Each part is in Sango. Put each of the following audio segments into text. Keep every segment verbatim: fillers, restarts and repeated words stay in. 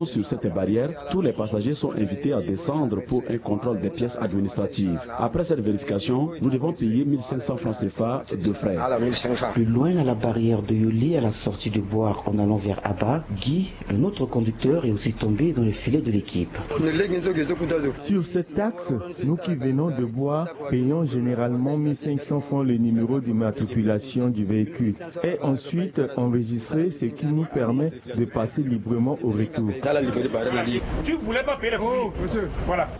Sur cette barrière, tous les passagers sont invités à descendre pour un contrôle des pièces administratives. Après cette vérification, nous devons payer mille cinq cents francs C F A de frais. Plus loin, à la barrière de Yoli, à la sortie de Boar en allant vers Aba, Guy, un autre conducteur, est aussi tombé dans le filet de l'équipe. Sur cette taxe, nous qui venons de Boar payons généralement mille cinq cents francs le numéro d'immatriculation du véhicule et ensuite enregistrer, ce qui nous permet de passer librement au retour.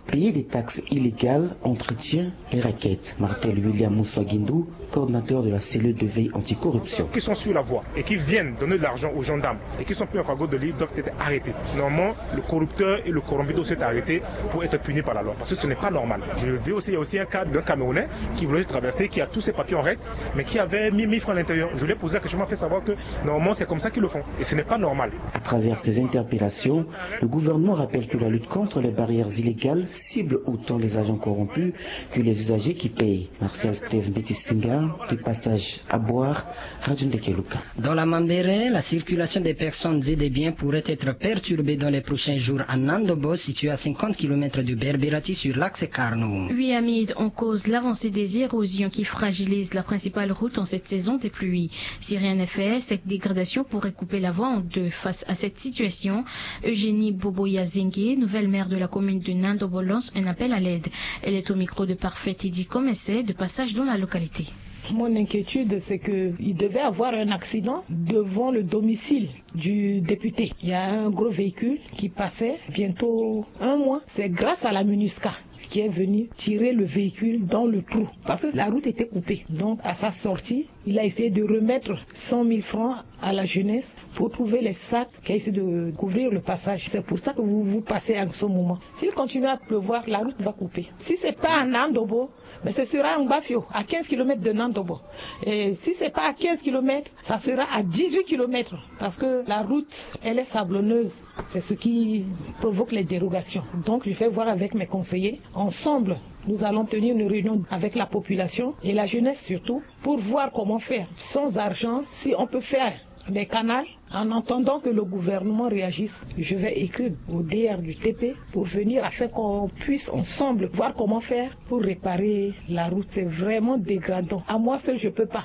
Payer des taxes illégales, entretien et raquettes. Martel William Moussa Guindou, coordinateur de la cellule de veille anticorruption. Qui sont sur la voie et qui viennent donner de l'argent aux gendarmes et qui sont pris en flagrant délit doivent être arrêtés. Normalement, le corrupteur et le corrompu doivent être arrêtés pour être punis par la loi, parce que ce n'est pas normal. Je veux aussi, il y a aussi un cas d'un Camerounais qui voulait traverser, qui a tous ses papiers en règle, mais qui avait mis mille francs à l'intérieur. Je lui ai posé la question, il m'a fait savoir que normalement c'est comme ça qu'ils le font et ce n'est pas normal. À travers ces interpellations, le gouvernement rappelle que la lutte contre les barrières illégales cible autant les agents corrompus que les usagers qui payent. Martial Steve Mbetisinga, de passage à Boar, Radio Ndekeluka. Dans la Mambéré, la circulation des personnes et des biens pourrait être perturbée dans les prochains jours à Nandobo, situé à cinquante kilomètres de Berberati sur l'axe Carno. Oui, Hamid, on cause l'avancée des érosions qui fragilise la principale route en cette saison des pluies. Si rien n'est fait, cette dégradation pourrait couper la voie en deux. Face à cette situation, Eugénie Boboya Zengue, nouvelle maire de la commune de Nandobo, lance un appel à l'aide. Elle est au micro de Parfait Teddy Comesset, de passage dans la localité. Mon inquiétude, c'est qu'il devait avoir un accident devant le domicile du député. Il y a un gros véhicule qui passait bientôt un mois. C'est grâce à la MINUSCA qui est venue tirer le véhicule dans le trou parce que la route était coupée. Donc, à sa sortie, il a essayé de remettre cent mille francs à la jeunesse pour trouver les sacs qui a essayé de couvrir le passage. C'est pour ça que vous, vous passez en ce moment. S'il continue à pleuvoir, la route va couper. Si c'est pas à Nandobo, mais ce sera à Ngbafio, à quinze kilomètres de Nandobo. Et si c'est pas à quinze kilomètres, ça sera à dix-huit kilomètres. Parce que la route, elle est sablonneuse. C'est ce qui provoque les dérogations. Donc, je vais voir avec mes conseillers. Ensemble, nous allons tenir une réunion avec la population et la jeunesse surtout pour voir comment faire. Sans argent, si on peut faire des canaux, en attendant que le gouvernement réagisse, je vais écrire au D R du T P pour venir afin qu'on puisse ensemble voir comment faire pour réparer la route. C'est vraiment dégradant. À moi seul, je peux pas.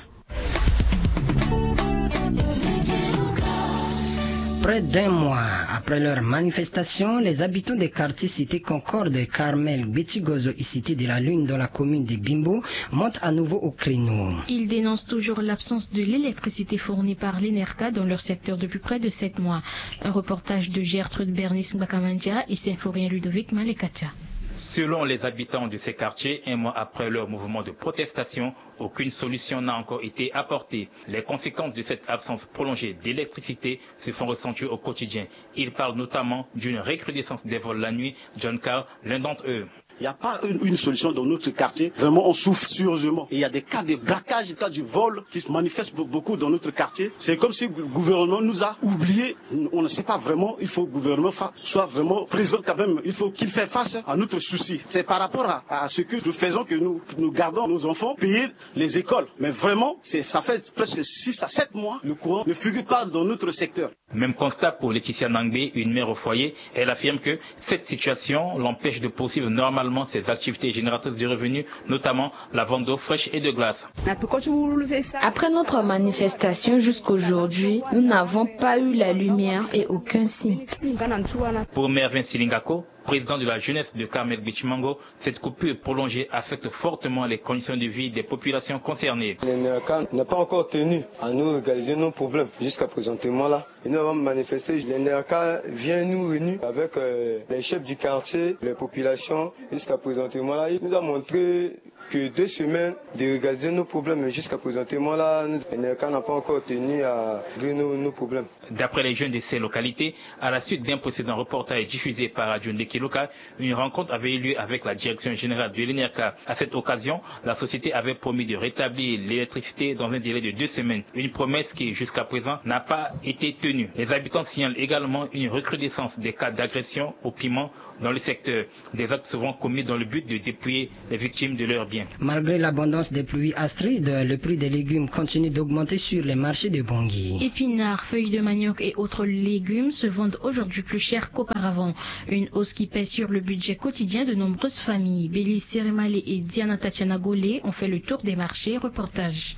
Près d'un mois après leur manifestation, les habitants des quartiers cités Concorde, Carmel, Betigozo et Cité de la Lune dans la commune de Bimbo montent à nouveau au créneau. Ils dénoncent toujours l'absence de l'électricité fournie par l'ENERCA dans leur secteur depuis près de sept mois. Un reportage de Gertrude Bernice Mbakamandia et Symphorien Ludovic Malekatia. Selon les habitants de ces quartiers, un mois après leur mouvement de protestation, aucune solution n'a encore été apportée. Les conséquences de cette absence prolongée d'électricité se font ressentir au quotidien. Ils parlent notamment d'une recrudescence des vols la nuit. John Carl, l'un d'entre eux. Il n'y a pas une, une, solution dans notre quartier. Vraiment, on souffre sérieusement. Et il y a des cas de braquage, des cas du vol qui se manifestent beaucoup dans notre quartier. C'est comme si le gouvernement nous a oubliés. On ne sait pas vraiment. Il faut que le gouvernement soit vraiment présent quand même. Il faut qu'il fasse face à notre souci. C'est par rapport à, à, ce que nous faisons que nous, nous gardons nos enfants, payer les écoles. Mais vraiment, ça fait presque six à sept mois. Le courant ne figure pas dans notre secteur. Même constat pour Laetitia Nangbe, une mère au foyer. Elle affirme que cette situation l'empêche de poursuivre normalement ses activités génératrices de revenus, notamment la vente d'eau fraîche et de glace. Après notre manifestation jusqu'aujourd'hui, nous n'avons pas eu la lumière et aucun signe. Pour Mervin Silingako, président de la jeunesse de Carmel Beach Mango, cette coupure prolongée affecte fortement les conditions de vie des populations concernées. L'ENERCA n'a pas encore tenu à nous régaliser nos problèmes jusqu'à présentement là. Et nous avons manifesté. L'ENERCA vient nous réunir avec euh, les chefs du quartier, les populations. Jusqu'à présentement là, il nous a montré que deux semaines de régaliser nos problèmes. Mais jusqu'à présentement là, l'ENERCA n'a pas encore tenu à régler nos, nos problèmes. D'après les jeunes de ces localités, à la suite d'un précédent reportage diffusé par Radio Ndekeluka, une rencontre avait eu lieu avec la direction générale de l'ENERCA. À cette occasion, la société avait promis de rétablir l'électricité dans un délai de deux semaines, une promesse qui, jusqu'à présent, n'a pas été tenue. Les habitants signalent également une recrudescence des cas d'agression au piment dans le secteur, des actes souvent commis dans le but de dépouiller les victimes de leurs biens. Malgré l'abondance des pluies astrides, le prix des légumes continue d'augmenter sur les marchés de Bangui. Épinards, feuilles de manioc et autres légumes se vendent aujourd'hui plus cher qu'auparavant. Une hausse qui pèse sur le budget quotidien de nombreuses familles. Bélis Seremale et Diana Tatiana Golé ont fait le tour des marchés. Reportage.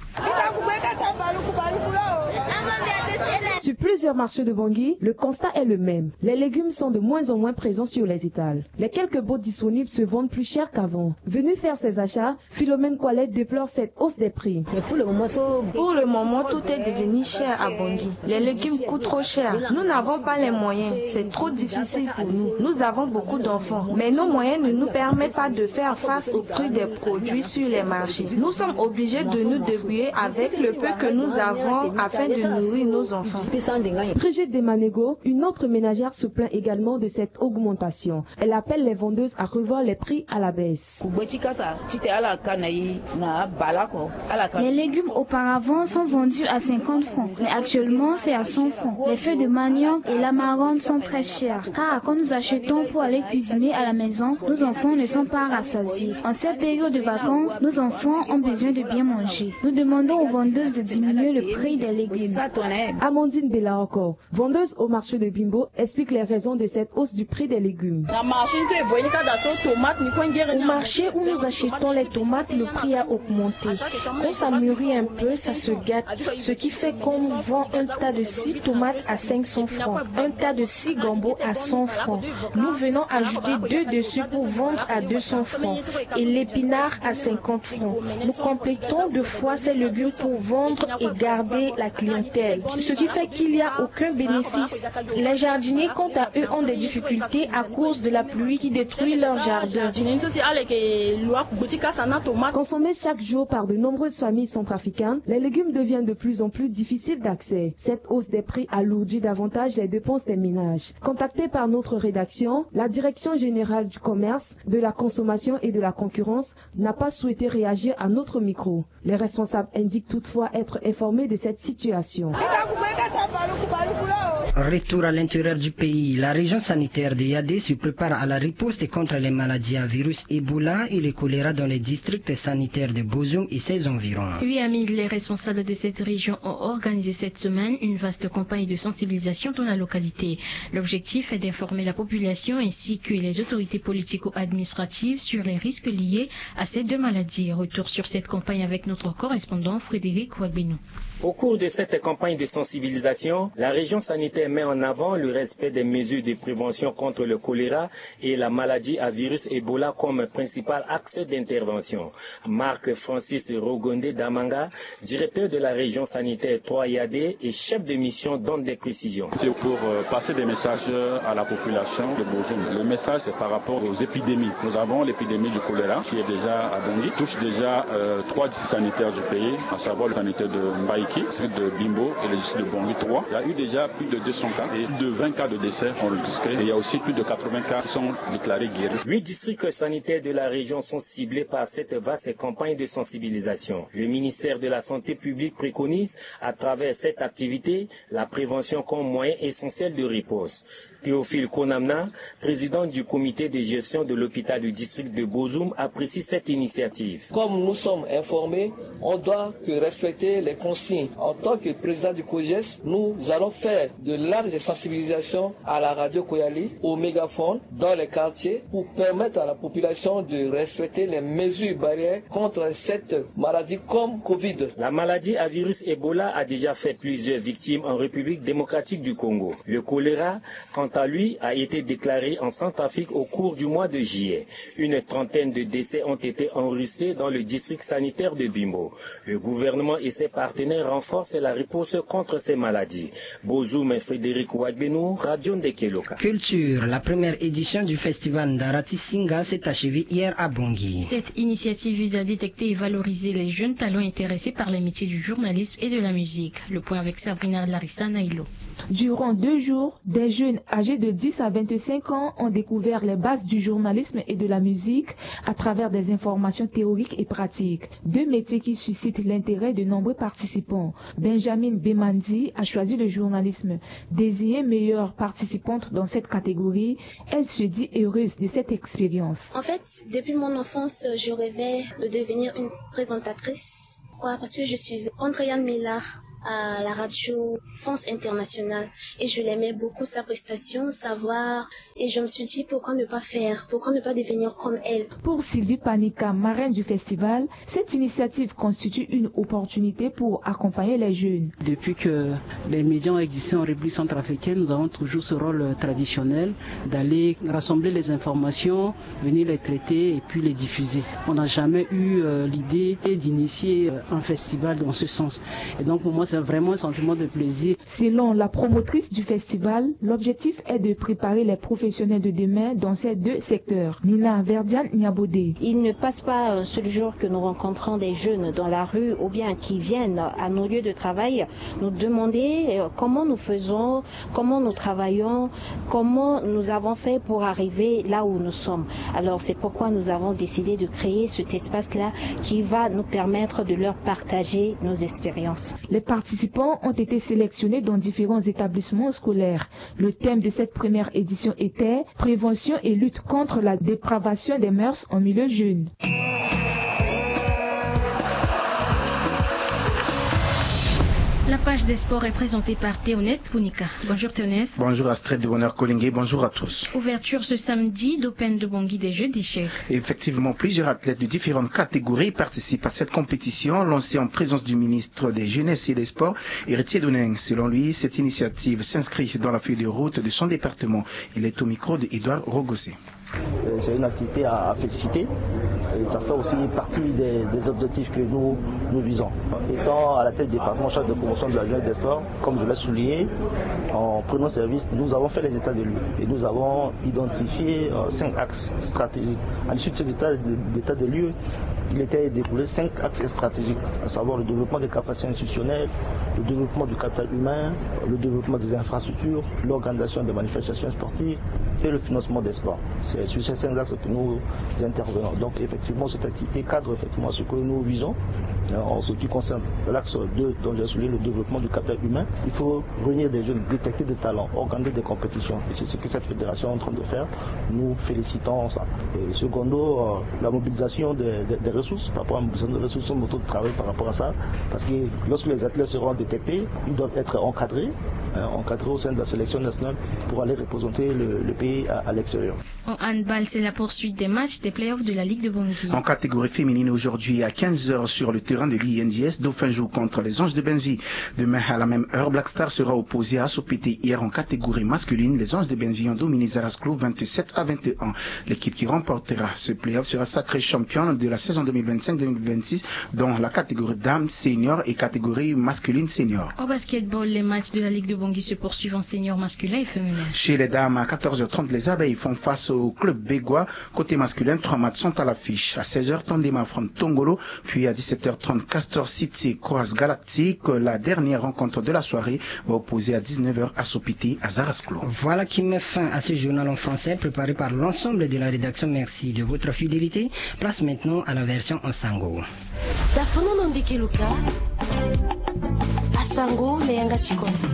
Sur plusieurs marchés de Bangui, le constat est le même. Les légumes sont de moins en moins présents sur les étals. Les quelques baux disponibles se vendent plus cher qu'avant. Venus faire ces achats, Philomène Kwalé déplore cette hausse des prix. Pour le moment, tout est devenu cher à Bangui. Les légumes coûtent trop cher. Nous n'avons pas les moyens. C'est trop difficile pour nous. Nous avons beaucoup d'enfants, mais nos moyens ne nous permettent pas de faire face au prix des produits sur les marchés. Nous sommes obligés de nous débrouiller avec le peu que nous avons afin de nourrir nos enfants. Brigitte Demanego, une autre ménagère, se plaint également de cette augmentation. Elle appelle les vendeuses à revoir les prix à la baisse. Les légumes auparavant sont vendus à cinquante francs, mais actuellement c'est à cent francs. Les feuilles de manioc et l'amarante sont très chères, car quand nous achetons pour aller cuisiner à la maison, nos enfants ne sont pas rassasiés. En cette période de vacances, nos enfants ont besoin de bien manger. Nous demandons aux vendeuses de diminuer le prix des légumes. Amandine Belaoko, vendeuse au marché de Bimbo, explique les raisons de cette hausse du prix des légumes. Au marché où nous achetons les tomates, le prix a augmenté. Quand ça mûrit un peu, ça se gâte. Ce qui fait qu'on nous vend un tas de six tomates à cinq cents francs, un tas de six gambos à cent francs. Nous venons ajouter deux dessus pour vendre à deux cents francs et l'épinard à cinquante francs. Nous complétons deux fois ces légumes pour vendre et garder la clientèle. Ce qui fait qu'il n'y a aucun bénéfice. Les jardiniers, quant à eux, ont des difficultés à cause de la pluie qui détruit leur jardin. Consommés chaque jour par de nombreuses familles centrafricaines, les légumes deviennent de plus en plus difficiles d'accès. Cette hausse des prix alourdit davantage les dépenses des ménages. Contactée par notre rédaction, la Direction générale du commerce, de la consommation et de la concurrence n'a pas souhaité réagir à notre micro. Les responsables indiquent toutefois être informés de cette situation. Retour à l'intérieur du pays. La région sanitaire de Yadé se prépare à la riposte contre les maladies à virus Ebola et le choléra dans les districts sanitaires de Bozoum et ses environs. Oui, Amine, les responsables de cette région ont organisé cette semaine une vaste campagne de sensibilisation dans la localité. L'objectif est d'informer la population ainsi que les autorités politico-administratives sur les risques liés à ces deux maladies. Retour sur cette campagne avec notre correspondant Frédéric Wagbeno. Au cours de cette campagne de sensibilisation, la région sanitaire met en avant le respect des mesures de prévention contre le choléra et la maladie à virus Ebola comme principal axe d'intervention. Marc Francis Rogonde Damanga, directeur de la région sanitaire trois Yadé et chef de mission, donne des précisions. C'est pour euh, passer des messages à la population de Bozoum. Le message, c'est par rapport aux épidémies. Nous avons l'épidémie du choléra qui est déjà à Bangui, touche déjà euh, trois districts sanitaires du pays, à savoir le sanitaire de Mbaïki, celui de Bimbo et le district de Bangui trois. Il y a eu déjà plus de deux cents cas et plus de vingt cas de décès enregistrés. Et il y a aussi plus de quatre-vingts cas qui sont déclarés guéris. Huit districts sanitaires de la région sont ciblés par cette vaste campagne de sensibilisation. Le ministère de la Santé publique préconise, à travers cette activité, la prévention comme moyen essentiel de réponse. Théophile Konamna, président du comité de gestion de l'hôpital du district de Bozoum, apprécie cette initiative. Comme nous sommes informés, on doit que respecter les consignes. En tant que président du COGES, nous allons faire de larges sensibilisations à la radio Koyali, au mégaphone, dans les quartiers, pour permettre à la population de respecter les mesures barrières contre cette maladie comme Covid. La maladie à virus Ebola a déjà fait plusieurs victimes en République démocratique du Congo. Le choléra, quant à lui, a été déclaré en Centrafrique au cours du mois de juillet. Une trentaine de décès ont été enregistrés dans le district sanitaire de Bimbo. Le gouvernement et ses partenaires renforcent la réponse contre ces maladies. Bozoum, Frédéric Wagbeno, Radio Ndekeloka. Culture, la première édition du festival Ndarati Singa s'est achevée hier à Bangui. Cette initiative vise à détecter et valoriser les jeunes talents intéressés par les métiers du journalisme et de la musique. Le point avec Sabrina Larissa Nailo. Durant deux jours, des jeunes âgés de dix à vingt-cinq ans ont découvert les bases du journalisme et de la musique à travers des informations théoriques et pratiques, deux métiers qui suscitent l'intérêt de nombreux participants. Benjamin Bemandi a choisi le journalisme. Désignée meilleure participante dans cette catégorie, elle se dit heureuse de cette expérience. En fait, depuis mon enfance, je rêvais de devenir une présentatrice. Pourquoi ? Parce que je suis Andrea Millard à la radio France Internationale et je l'aimais beaucoup, sa prestation, sa voix, et je me suis dit pourquoi ne pas faire, pourquoi ne pas devenir comme elle. Pour Sylvie Panika, marraine du festival, cette initiative constitue une opportunité pour accompagner les jeunes. Depuis que les médias ont existé, en République centrafricaine, nous avons toujours ce rôle traditionnel d'aller rassembler les informations, venir les traiter et puis les diffuser. On n'a jamais eu euh, l'idée d'initier euh, un festival dans ce sens. Et donc pour moi, c'est vraiment un sentiment de plaisir. Selon la promotrice du festival, l'objectif est de préparer les professionnels de demain dans ces deux secteurs. Nina Verdiane Niabodé. Il ne passe pas un seul jour que nous rencontrons des jeunes dans la rue ou bien qui viennent à nos lieux de travail nous demander euh, comment nous faisons, comment nous travaillons, comment nous avons fait pour arriver là où nous sommes. Alors c'est pourquoi nous avons décidé de créer cet espace-là qui va nous permettre de leur partager nos expériences. Les participants ont été sélectionnés dans différents établissements scolaires. Le thème de cette première édition était prévention et lutte contre la dépravation des mœurs en milieu jeune. La page des sports est présentée par Théoneste Punika. Bonjour Théoneste. Bonjour Astrid de Bonheur Collingué, bonjour à tous. Ouverture ce samedi d'Open de Bangui des Jeux d'échecs. Effectivement, plusieurs athlètes de différentes catégories participent à cette compétition lancée en présence du ministre des Jeunesses et des Sports, Héritier Donin. Selon lui, cette initiative s'inscrit dans la feuille de route de son département. Il est au micro de Édouard Rogosset. C'est une activité à féliciter. Et ça fait aussi partie des, des objectifs que nous, nous visons. Étant à la tête du département chargé de promotion de la jeunesse des sports, comme je l'ai souligné, en prenant service, nous avons fait les états de lieux et nous avons identifié euh, cinq axes stratégiques. À l'issue de ces états de, d'état de lieux, il était déroulé cinq axes stratégiques, à savoir le développement des capacités institutionnelles, le développement du capital humain, le développement des infrastructures, l'organisation des manifestations sportives et le financement des sports. C'est sur ces cinq axes que nous intervenons. Donc effectivement, cette activité cadre effectivement ce que nous visons. Euh, en ce qui concerne l'axe deux, dont j'ai souligné le développement du capital humain, il faut réunir des jeunes, détecter des talents, organiser des compétitions. Et c'est ce que cette fédération est en train de faire. Nous félicitons ça. Et secondo, euh, la mobilisation des, des, des ressources, par rapport à la mobilisation des ressources, son mode de travail par rapport à ça. Parce que lorsque les athlètes seront détectés, ils doivent être encadrés, euh, encadrés au sein de la sélection nationale pour aller représenter le, le pays à, à l'extérieur. En handball, c'est la poursuite des matchs des playoffs de la Ligue de Bangui. En catégorie féminine, aujourd'hui à quinze heures sur le terrain de l'I N D S, Dauphin joue contre les Anges de Benneville. Demain à la même heure, Black Star sera opposé à Sopete. Hier en catégorie masculine, les Anges de Benneville ont dominé Zarasclo vingt-sept à vingt et un. L'équipe qui remportera ce playoff sera sacrée championne de la saison deux mille vingt-cinq deux mille vingt-six dans la catégorie dames senior et catégorie masculine senior. Au basketball, les matchs de la Ligue de Bangui se poursuivent en senior masculin et féminin. Chez les dames, à quatorze heures trente, les Abeilles font face au club bégois. Côté masculin, trois matchs sont à l'affiche. À seize heures, Tondema affronte Tongolo, puis à dix-sept heures trente, Castor City croise Galactique. La dernière rencontre de la soirée va opposer à dix-neuf heures à Sopete à Zarasclo. Voilà qui met fin à ce journal en français préparé par l'ensemble de la rédaction. Merci de votre fidélité. Place maintenant à la version en sango. Asango na yanga ti kodro.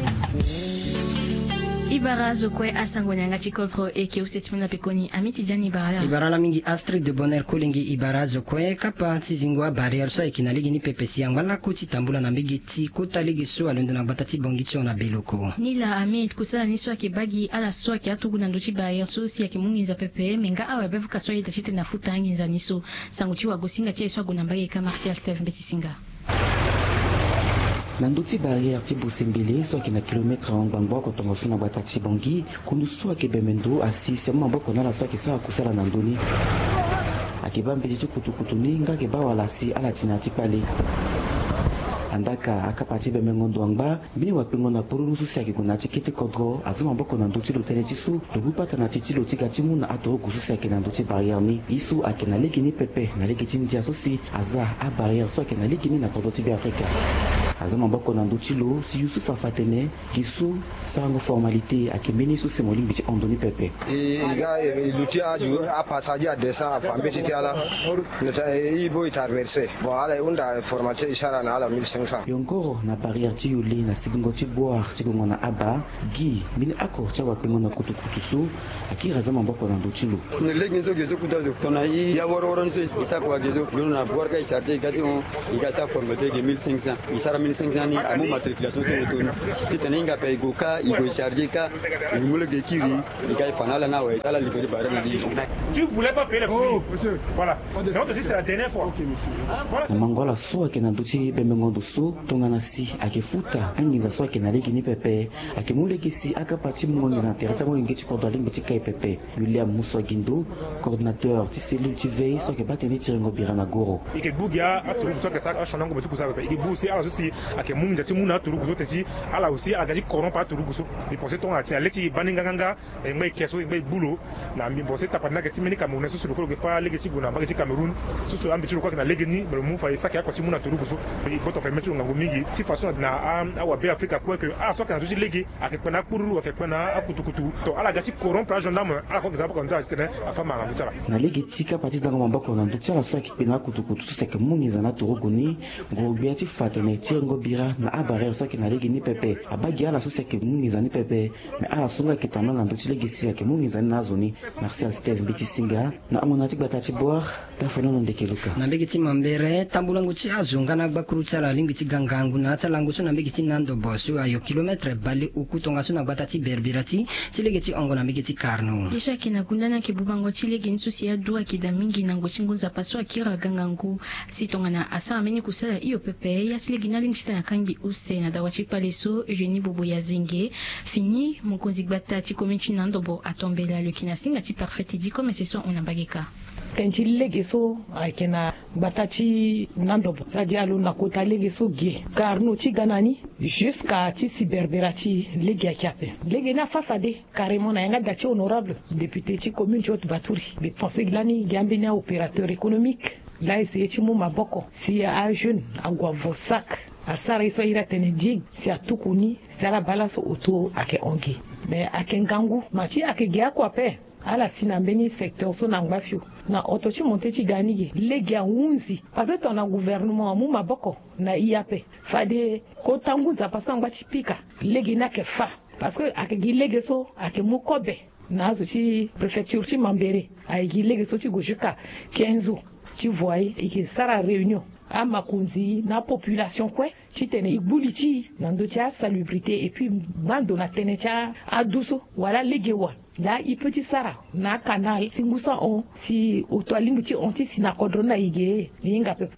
Ibara zo kue asango na yanga ti kodro e ke use ti manda pekoni. Amiti diani ibara la. Ibara la mingi. Astrid de Bonheur Kolengi. Ibara zo kue, kapa ti zingo abarrière so ayeke na lege ni pepe si angba lako ti tambula na mbege ti kota lege so alondo na gbata ti Bangui ti hon na Beloko. Ni la Amid, kusala ni so ayeke baa gi ala so ayeke atugu na ndö ti barrière so si ayeke mu nginza pepe. Me nga awe abe avuka so ayeda titene afuta anginza ni so. Sango ti wagosinga ti aye so ague na mbage ka Martial Steve Mbeti Singa. Na ndö ti barrière ti Bosembele so ayeke na kilometre ahon ngbangbo oko tongaso na gbata ti Bangui, kundu so ayeke bembe ndo asi si amu maboko na ala so ayeke sara kusala na ndö ni. Ayeke baa mbeti ti kutukutu ni nga ayeke baa wala si ala ti na ya ti kpale. Andaka akapa ti bembengo ndo angba mbeni wakpengo na polulu so si ayeke gue na ya ti kete kodro aza maboko na ndö ti lo tënë ti so lo bubata na ti ti lo ti ga ti mu na aturugu so si ayeke na ndö ti barrière ni. Ye so ayeke na lege ni pepe na lege ti ndia so si aza abarrière so ayeke na lege ni na kodro ti Beafrika. Aza maboko na ndö ti lo si Youssouf afa atene gi so sarango formalité ayeke mbeni so si mo lingbi ti hon ndö ni pepe. E ga e luti aju apassage adescend afa mbeti ti ala. Nota e i bo e traverse. Bon ala e hunda formalité e sara na ala mille cinq cents. Yongoro na barrière ti yuli na sigingo ti boire ti gongo na aba gi mbeni oko ti awakpengo na kutukutu so akiri aza maboko na ndö ti lo. Na lege nzo ge zo kuta zo tongana i ya woroworo ni so i sara kua ge zo londo na boire ka i charger i ga ti hon. I ga sara formalité ge mille cinq cents, i sara mille cinq cents ni amu matriculation ti oto ni. Titene hinga ape i go ka i go i charger ka i mu lege kiri. I ga i fa na ala ni awe ala libéré barrière na li. Tu voulais pas payer les prix. Voilà. Donc on te dit c'est la dernière fois. Voilà. Na mango ala so ayeke na ndö ti bembengo ndo so tongana si ayeke futa anginza so ayeke na lege ni pepe. Ayeke mu lege si akapa ti mungo nginza na tere ti amolenge ti kodro alingbi ti kai pepe. William Musuagindo, coordinateur ti cellule ti veille so ayeke baa tënë ti rengo bira na goro. I yeke gbu gi aturugu so ayeke sara achandango be ti kusa pepe i yeke gbu si ala so si ayeke mu nginza ti mu na aturugu so te si ala aussi ala ga ti corrompre aturugu so. I pense tongana si na le ti i baa ni nganganga. E ngba e ke so e ngba e gbu lo. Na mbi mbo so e tapati ni ayeke ti mbeni camerounais so si lo kue lo yeke fâ lege ti gue na mbage ti cameroun. So si ambeti lo kue ayeke na lege ni me lo mu fa e saki akua ti mu na turugu so. E gboto fa e mê ti lo ngangu mingi ti façon na awabe afrika kue ke ala so ayeke na ndö ti lege ayeke kpe na akpururu ayeke kpe na akutukutu to ala ga ti corrompre agendarme ala kue ayeke za boko na ndö ala titene afâ ma na ndö ti ala. Na lege ti kapa ti zango maboko na ndö ti ala so ayeke kpe na akutukutu so si ayeke mu nginza na aturugu ni. Nguru-gbia ti fa atene tirengo bira na abarrière so ayeke na lege ni pepe. Abaa gi ala so si ayeke mu nginza ni pepe. Me ala so nga ayeke tambula na ndö ti lege si ayeke mu nginza ni na azo ni. Martial steve mbeti singa na hongona ti gbata ti boire. Tafanono ndeke luka. Na mbege ti mambere tambulango ti azo nga na gbakuru ti ala alingbi ti ga ngangu na ya ti alango so na mbege ti nandobo so ayo kilometre baleoku tongaso na gbata ti berbirati ti lege ti hongo na mbege ti karno. Ye so ayeke na gunda ni ayeke bubango ti lege ni so si adu ayeke daa mingi na ngoi ti ngu nzapa so akiri aga ngangu. Si tongana asara mbeni kusala hio pepe ya ti lege ni alingbi ti tene akangbi use na dawa ti kpale so eugénie bobo ya zenge. Fini mokonzi gbata ti commune ti nandobo atombela lo yeke na singa ti parfait ti di komese so ahon na mbage kâ. Tënë ti lege so ayeke na gbata ti nandobo sa di alo na kota lege so ge. Karno ti ga na ni jusqu'à ti si berbera ti lege ayeke ape. Lege ni afâ fade carrément na yanga da ti honorable député ti commune ti haute baturi mbi pense gi lani gi ambeni aopérateur économique. Laa essayer ti mu maboko si ajeune ague avo sac asara ye so ahiri atene digue si atuku ni si ala baa laso oto ayeke hon gi. Mais ayeke ngangu ma ti ayeke gi akua ape. Ala si na mbeni secteur so na ngba fio na oto ti monté ti ga ni ge lege ahunzi. Parce que tongana gouvernement amu maboko na i ape fade kota ngu nzapa so angba ti pika lege ni ayeke fâ. Parce que ayeke gi lege so ayeke mu kobe na azo ti préfecture ti mambere. Ayeke gi lege so ti gue jusqu'à quinze ans ti voyer e yeke sara réunion amakonzi na apopulation kue titene e gbu li ti e na ndö ti asalubrité et puis mando na tënë ti adu so wala lege wala laa e peut ti sara na acanal si ngu so ahon si oto alingbi ti hon ti si na kodro ni na e ge. E hinga pepe.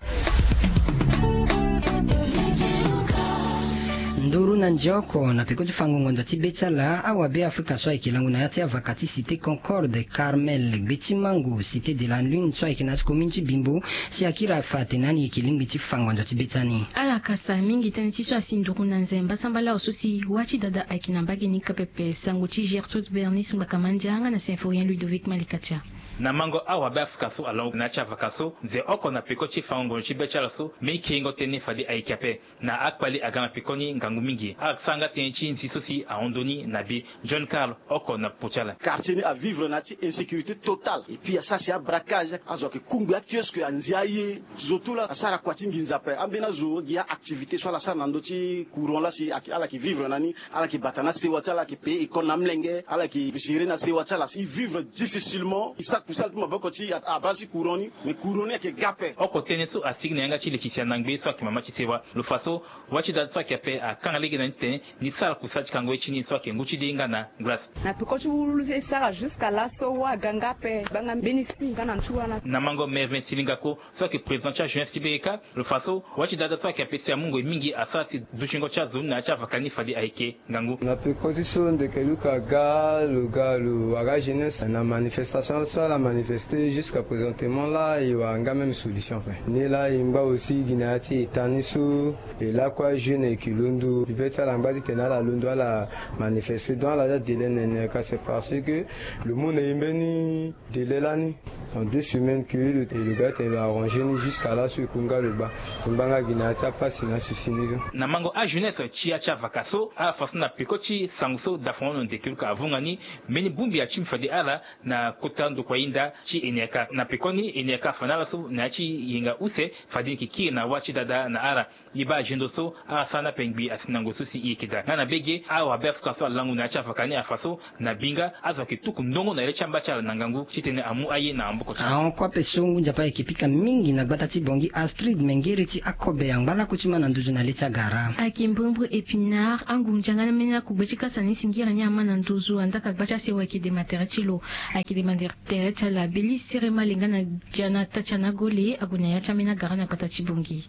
Nduru na nze oko na peko ti fango ngonzo ti be ti ala awabe afrika so ayeke lango na ya ti avaka ti cité concorde carmel gbe ti mango cité de la lune so ayeke na ya ti commune ti bimbo. Si akiri afa atene ani yeke lingbi ti fa ngonzo ti be ti ani. Ala kasa mingi tënë ti so asi nduru na nze mbasambala awe so si wâ ti dada ayeke na mbage ni ka pepe sango ti gertrude bernice ngbakamandia nga na symphorien ludovic malikatia. Na mango awabe afrika so alongo na ya ti avaka so nze oko na peko ti fango ngonzo ti be ti ala so mbeni kiringo tënë fade ayeke ape. Na akpali aga na pekoni ngangu mingi ala sara nga tënë ti nzi so si ahon ndoni na bi. John carl oko na popo ti ala. Quartier ni avivre na ya ti insécurité totale et puis asara si abraquage azo ayeke kungbi akiosque anzi aye. Zo tout la asara kua ti nginza ape ambeni azo gi aactivité so ala sara na ndö ti courant la si ala yeke vivre na ni. Ala yeke bata na sewa ti ala yeke paye école na amlenge ala yeke gérer na sewa ti ala si vivre difficilement e sara kusala ti maboko ti abaa si courant ni. Mais courant ni ayeke ga ape. Oko tënë so asigi na yanga ti leti si anangbe so ayeke mama ti sewa lo fa so wâ ti da so ayeke ape akanga lege na ni titene ni sara kusala ti kango ye ti ni so ayeke ngu ti de nga na glace. Na peko ti wululu so e sara jusqu'à laso wâ aga nga ape gbanga mbeni si nga na ntu wana. Na mango mervin silingako so ayeke président ti ajeunesse ti beke kâ lo fa so wâ ti dada so ayeke ape si amu ngoi mingi asara si dutingo ti azo ni na ya ti avaka ni fade ayeke ngangu. Na peko ti so ndeke luka ga lo ga lo wara jeunesse na manifestation so ala manifeste jusqu'à présentement la e wara nga même solution ape. Ni la e ngba aussi gi na ya ti eta ni so e lakue ajeune ayeke londo bibe ti ala ngba titene ala londo ala manifeste donc ala za délai nene ka c'est parce que lo mu na e mbeni délai lani en deux semaines que lo ga tene lo arranger ni jusqu'à laso e ku nga lo gba. E ngba nga gi na ya ti apasi na susi ni so. Na mango ajeunesse ti ya ti avaka so ala fa so na peko ti sango so dafango no ndeke luka avunga ni mbeni bongbi ya ti mbi fade ala na kota ndokua. Nda ti eniaka na pekoni eniaka afa na ala so na ya ti yenga use fade ni yeke kiri na wâ ti dada na ala. Ye baa azendo so ala sara na pengbi asi na ngoi so si e yeke daa nga na mbege awabe afrika so alangu na ya ti avaka ni afa so na binga azo ayeke tuku ndongo na le ti amba ti ala na ngangu titene amu aye na maboko ti ala. Ahon kue ape so ngu nzapa ayeke pika mingi na gbata ti bongi astrid mengeri ti akobe angba laku ti ma na nduzu na le ti agara. Ayeke mbrimbri epinard angunza nga na mbeni akugbe ti kasa ni si ngere ni ama na nduzu andaka gba ti asewa ayeke dema tere ti lo. Ayeke dema tere ti ala beli sere male nga na dia na ata ti ana gole ague na ya ti ambeni agara na gbata ti bongi.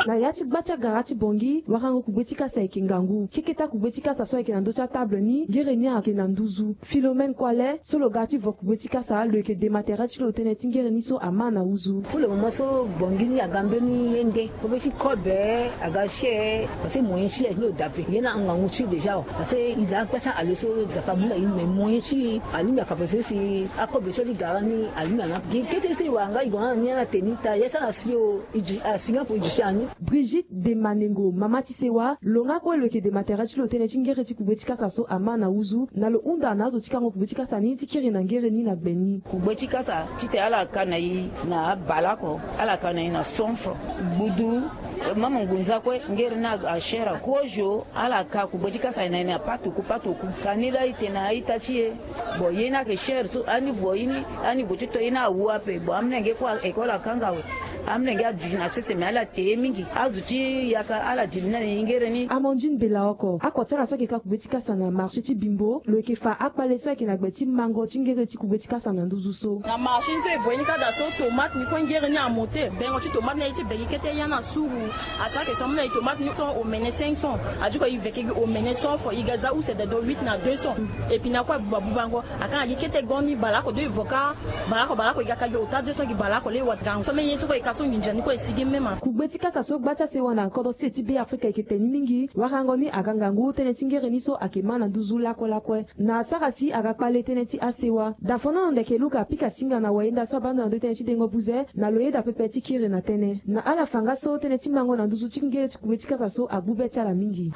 Na ya ti gba ti agara ti bongi warango kugbe ti kasa ayeke ngangu keketa kugbe ti kasa so ayeke na ndö ti atable ni ngere ni ayeke na nduzu. Philomène kuale so lo ga ti vo kugbe ti kasa lo yeke dema tere ti lo tënë ti ngere ni so ama na nduzu. Pour le moment so bongi ni aga mbeni ye nde kobe ti kobe aga share. Parce que moyen ti ye ti lo dape ye ni angangu ti déjà o. Parce que i da akpa ti ale so zapa mu na i mais moyen ti alingbi akapa so si akobe so ti gara ni alingbi ana gi kete so i wara nga i gue na ni ala te ni ta ye ti ala si o. Asi nga fo i duti ani. Brigitte de manengo mama ti sewa lo nga kue lo yeke dema tere ti lo tënë ti ngere ti kugbe ti kasa so ama na nduzu na lo hunda na azo ti kango kugbe ti kasa ni ti kiri na ngere ni na gbe ni. Kugbe ti kasa titene ala ka na i na abale oko ala ka na i na cent francs. Gbudu mama ngunza kue ngere ni ashera kozo ala ka kugbe ti kasa na i na patuku patuku. Ka ni laa i tene na a-ita ti e. Bon ye ni ayeke shere so ani vo ye ni ani gue ti to ye ni awu ape bon amolenge kue école akanga awe. Amolenge aduti na sese me ala te ye mingi azo ti yaka ala dili ni na ningere ni. Amandine bela oko ako ti ala so ayeke ka kugbe ti kasa na marché ti bimbo lo yeke fa akpale so ayeke na gbe ti mango ti ngere ti kugbe ti kasa na nduzu so. Na marché ni so e vo ye ni ka daa so tomate ni kue ngere ni amote bengo ti tomate ni aye ti beki kete ya na suru. Asara ke so amolenge tomate ni so omene cinq cents. Adiko e veke gi omene cent fo e ga za use dedo huit na deux cents. Epina kue abuba bubango. Akanga gi kete go ni baleoko deux voka. Baleoko baleoko e ga ka gi ota deux cents gi baleoko le e wa gango so meni ye so kue e ka so nginza ni kue e sigi mema. Kugbe ti kasa so gba ti asewa na kodro sese ti be afrika e yeke te ni mingi warango ni aga ngangu tënë ti ngere ni so ayeke ma na nduzu lakue lakue. Na asara si aga kpale tënë ti asewa dafono ndeke luka apika singa na wayenda so abando na ndö tënë ti dengo buze na lo yeda pepe ti kiri na tënë na ala fa nga so tënë ti mango na nduzu ti ngere ti kugbe ti kasa so agbu be ti ala mingi.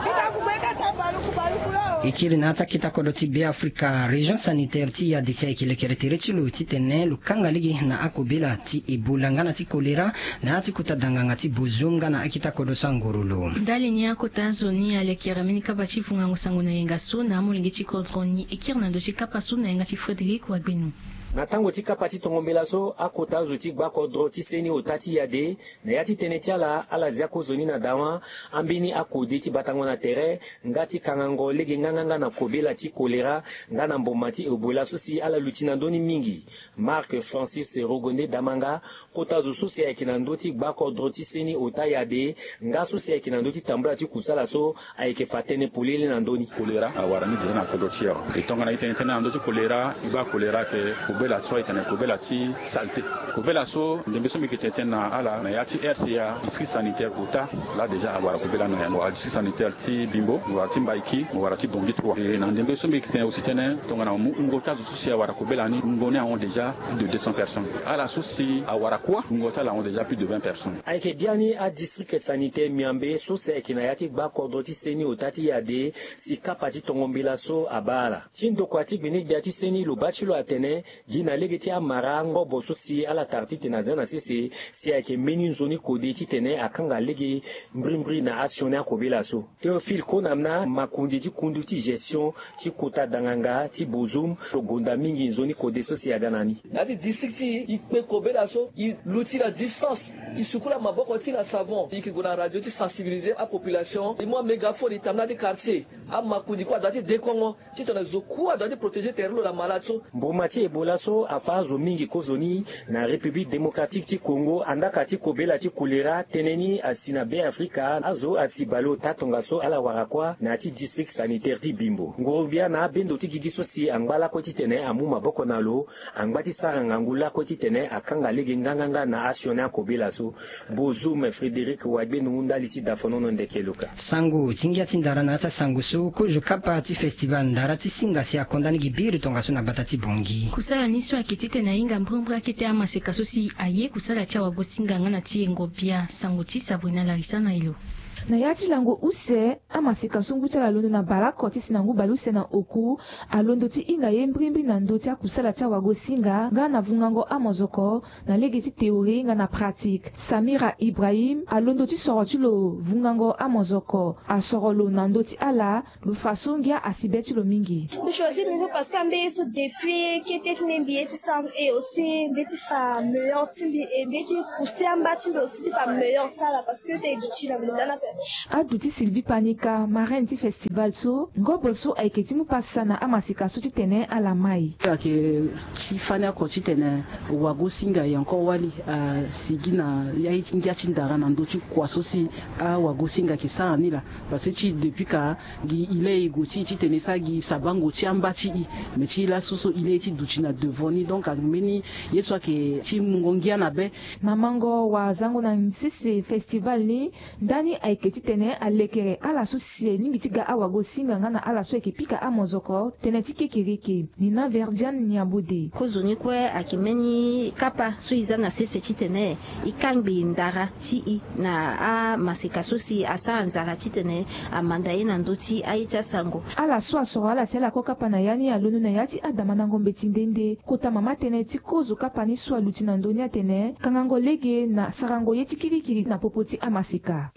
E kiri na ya ti akita kodro ti be afrika région sanitaire ti yade si ayeke lekere tere ti lo titene lo kanga lege na akobela ti ebola nga na ti kolera na ya ti kota danganga ti bozum nga na akita kodro so angoro lo. Ndali ni akota azo ni alekere mbeni kapa ti vungango sango na yenga so na amolenge ti kodro ni e kiri na ndö ti kapa so na yanga ti frédéric wagbeno. Na tango ti kapa ti tongo mbela so akota azo ti gba kodro ti seni ota ti yade na ya ti tënë ti ala ala zia kozoni na dawa ambeni akode ti batango na tere nga ti kangango lege nganganga na kobela ti kolera nga na mboma ti ebola so si ala luti na ndö ni mingi. Marc francis rogonde damanga kota zo so si ayeke na ndö ti gba kodro ti seni ota yade nga so si ayeke na ndö ti tambula ti kusala so ayeke fa tënë polele na ndö ni. Kolera awara ni dina na kodro ti e awe. E tongana e tene tënë na ndö ti kolera e baa kolera ayeke kobela so ayeke na kobela ti salte. Kobela so ndembe so mbi yeke tene tënë na ala na ya ti rca district sanitaire ota. Laa déjà awara kobela na yango adistrict sanitaire ti bimbo mo wara ti mbaiki mo wara ti bongi trois e na ndembe so mbi yeke tene aussi tënë tongana mo mu wungo ti azo so si awara kobela ni wungo ni ahon déjà plus de deux cents personnes. Ala so si awara kuâ wungo ti ala ahon déjà plus de vingt personnes. Ayeke biani adistrict sanitaire miambe so si ayeke na ya ti gba kodro ti seni ota ti yade si kapa ti tongo mbela so abaa ala. Ti ndokua ti gbenegbia ti seni lo baa ti lo atene gi na lege ti amara ngobo so si ala tara titene azia na sese si ayeke mbeni nzoni kode titene akanga lege mbrimbri na asioni akobela so. Théophile konamna makonzi ti kundu ti gestion ti kota danganga ti bozum lo gonda mingi nzoni kode so si aga na ni. Na ya ti district ti e e kpe kobela so e luti na distance e sukula maboko ti na savon e yeke gue na radio ti sensibiliser apopulation e mu amégaphone e tambula ti quartier. Amakonzi kue ada ti dekongo titene zo kue ada ti protéger tere lo na malade so. Mboma ti ebola so afa azo mingi kozoni na république démocratique ti congo andaka ti kobela ti kolera tënë ni asi na be afrika azo asi baleota tongaso ala wara kuâ na ya ti district sanitaire ti bimbo ngurubia na abendo ti gigi so si angba lakue titene amu maboko na lo angba ti sara ngangu lakue titene akanga lege nganganga na asioni akobela so. Bozum frédéric wagbenu ndali ti dafonono ndeke luka. Sango ti ngia ti ndara na ya ti asango so kozo kapa ti festival ndara ti singa si akonda ni gi biri tongaso na gbata ti bongi. Kusala ni so ayeke titene ahinga mbrimbri akete amaseka so si aye kusala ti awagosinga nga na ti yengo bia sango ti sabrina larisa na elo. Na ya ti lango use, amaseka so ngu ti ala alondo na baleoko ti si na ngu baleuse na oku, alondo ti hinga ye mbrimbri na ndö ti akusala ti awagosinga nga na vungango amozoko na lege ti théorie nga na pratique. Samira Ibrahim alondo ti soro ti lo vungango amozoko, asoro lo na ndö ti ala, lo fa so ngia asi be ti lo mingi. Mbi choisir mbi so parce que ambeni so depuis kete ti mbi mbi ye ti sang et aussi mbi ye ti fa meilleur ti mbi et mbi ye ti pousser amba ti mbi aussi ti fa meilleur ti ala parce que te duti na mbi ndani ape. Aduti Sylvie Panika, marraine ti festival so, ngobo so ayeke ti mu pasa na amaseka so titene ala mai. Ayeke ti fani oko titene wagosinga e encore wali asigi na ya ti ngia ti ndara na ndö ti kua so si awagosinga ayeke sara ni laa. Parce que ti depuis ka gi ile e gue ti e titene e sara gi sabango ti amba ti e. Mais ti laso so ile e ti duti na devant ni, donc ambeni ye so ayeke ti mungo ngia na be. Na mango wazango na sese festival ni, ndani ayeke titene alekere ala so si alingbi ti ga awagosinga nga na ala so ayeke pika amozoko tënë ti kekereke. Ni na Verdiane Niabode. Kozo ni kue ayeke mbeni kapa so e za na sese titene e kangbi ndara ti e na amaseka so si asara nzara titene amanda ye na ndö ti aye ti asango. Ala so asoro ala si ala ko kapa na ya ni alondo na ya ti adamandango mbeti nde nde kota mama tënë ti kozo kapa ni so aluti na ndö ni atene kangango lege na sarango ye ti kirikiri na popo ti amaseka.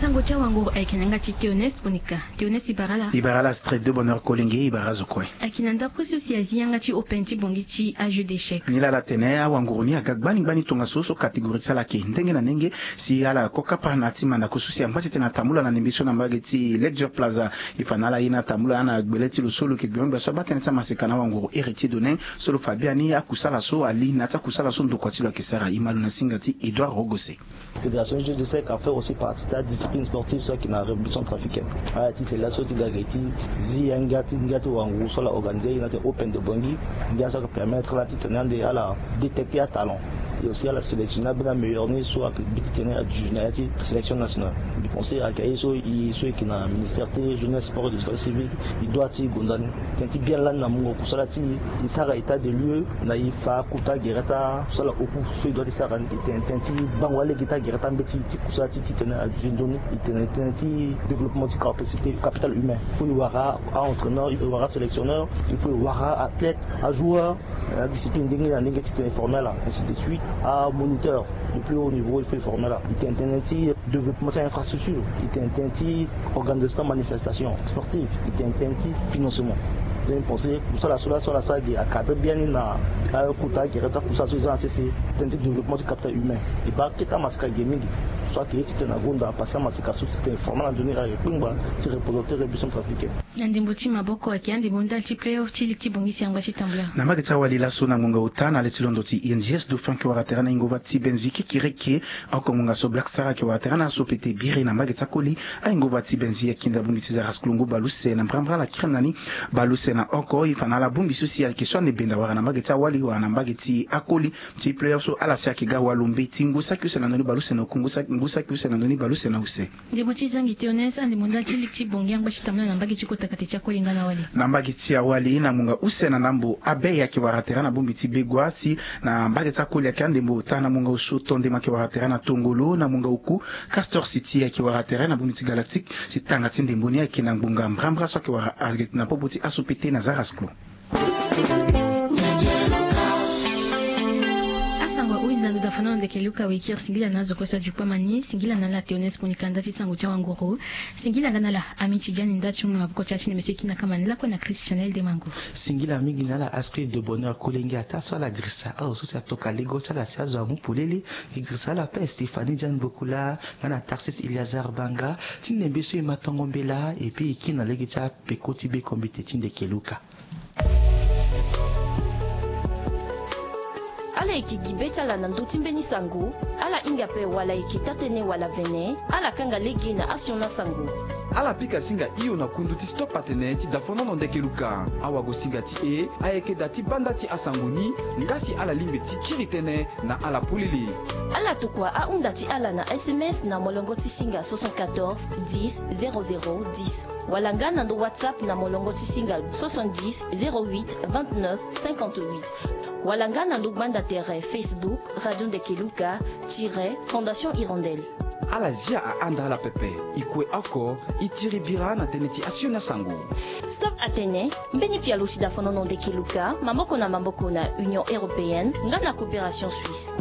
Sango ti awanguru ayeke na yanga ti Théoneste Ponika. Théoneste, e bara ala. E bara ala Astrid de Bonheur Kolenge, e bara azo kue. Ayeke na ndapre so si azi yanga ti open ti bongi ti ajeu d'échec. Nilaa ala tene awanguru ni aga gbani gbani tongaso so catégorie ti ala ayeke ndenge na ndenge. Si ala ko kapa na ya ti mandako so si angba ti tene atambula na ndembe so na mbage ti Ledger Plaza. E fa na ala ye na atambula na gbele ti lo so lo yeke gbengbe gbia so abaa tënë ti amaseka na awanguru Héritier Donin so lo fa biani akusala so ali na ya ti akusala so ndokua ti lo ayeke sara. E ma lo na singa ti Edouard Rogose. Fédération jeu d'échec a fait aussi partie ti adiscipline sportive so ayeke na République centrafricaine. Ala ti sela so ti ga ge ti zi angia ti ngia ti wanguru so ala organiser ye na ti open de bongi. Ngia so ayeke permettre ala ti tene ande ala détecter atalent. Et aussi ala sélectionner ambeni ameilleur ni so ayeke bi ti tene aduti na ya ti sélection nationale. Mbi pense ayeke aye so e so e yeke na ministère ti jeunesse, sport et éducation civique, e doit ti gonda ni. Tënë ti bien lani na mungo kusala ti e, e sara état de lieu na e fa kota gere ti akusala oku so e doit ti sara ni. E tene tënë ti bango alege ti agere ti ambeti ti kusala ti titene aduti nzoni. E tene tënë ti développement ti capacité capital humain. Il faut e wara a-entraîneur, e wara sélectionneur, il faut e wara athlète, ajoueur, adiscipline ndenge na ndenge titene e former ala, ainsi de suite. Amoniteur de plus haut niveau, il faut e former ala. E tene tënë ti développement ti infrastructure, e tene tënë ti organisation ti manifestation sportive, e tene tënë ti financement. Donc e pense kusala so laa so ala sara ge acadre biani na akota gere ti akusala so e za na sese, tënë ti développement ti capital humain. E baa kete amaseka ge mingi so ayeke ye titene agonda parce que amaseka so titene e former ala na nzoni ayeke kpengba ti représenter République centrafricaine. Na ndembo ti maboko ayeke andembo ndali ti playoff ti ligue ti bongi si angba ti tambula. Na mbage ti awali laso na ngonga ota na le ti londo ti I N G S Dauphin ayeke wara tere na Ingova ti Benzi kekereke. Oko ngonga so Black Star ayeke wara tere na aso pete biri na mbage ti akoli. A-Ingova ti Benzi ayeke nda bongbi ti Zaras Klongo baleuse na mbrambra ala kiri na ni baleuse na oko. E fa na ala bongbi so si ayeke so ande benda wara na mbage ti awali wala na mbage ti akoli. Ti playoff so ala si ayeke ga walo mbeti ngu saki use na ndoni baleuse na oku, ngu saki use na ndoni baleuse na use. Ndembo ti zangi Théoneste, andembo ndali ti ligue ti bongi angba ti tambula na mbage ti kota kate ti akoli nga na wali. Na mbage ti awali na ngonga use na ndambo abe ayeke wara tere na bongbi ti Begua si na mbage ti akoli ayeke andembo ota na ngonga osio Tondema ayeke wara tere na Tongolo na ngonga oku Castor City ayeke wara tere na bongbi ti Galactique si tanga ti ndembo ni ayeke na ngonga mbrambra so ayeke wara na popo ti aso pete na Zaras Klo. Asango ahuizi na ndo dafa na lo ndeke Luka Wekir. Singila na azo kue so aduku amani. Singila na ala Théoneste Ponika nda ti sango ti awanguru. Singila nga na ala Ami Tidiane nda ti hunga maboko ti ala ti ndembe so e kiri na kama ni lakue na Christ Chanel Demango. Singila mingi na ala Astrid de Bonheur Kolenge ataa so ala girisa azo so si atoka lego ti ala si azo amu polele. E girisa ala ape Stéphanie Diane Bokula nga na Tarsis Eliazar Banga ti ndembe so e ma tongo mbela. Et puis e kiri na lege ti apeko ti be kombite ti ndeke Luka. Ala yeke gi be ti ala na ndö ti mbeni sango. Ala hinga ape wala e yeke taa-tënë wala vene. Ala kanga lege na asioni asango. Ala pika singa hio na kundu ti Stop Atene ti dafonono ndeke Luka. Awagosinga ti e ayeke da ti banda ti asango ni. Nga si ala lingbi ti kiri tënë na ala polele. Ala tokua ahunda ti ala na S M S na molongo ti singa soixante-quatorze dix zéro zéro dix. Wala nga na ndo WhatsApp na molongo ti singa soixante-dix, zéro huit, vingt-neuf, cinquante-huit. Wala nga na ndo gbanda tere Facebook, Radio Ndekeluka tiret Fondation Hirondelle. Ala zia ahanda ala pepe. E kue oko, e tiri bira na tënë ti asioni asango. Stop atene, mbeni pialo si dafonono Ndekeluka maboko na maboko na Union Européenne nga na Coopération Suisse.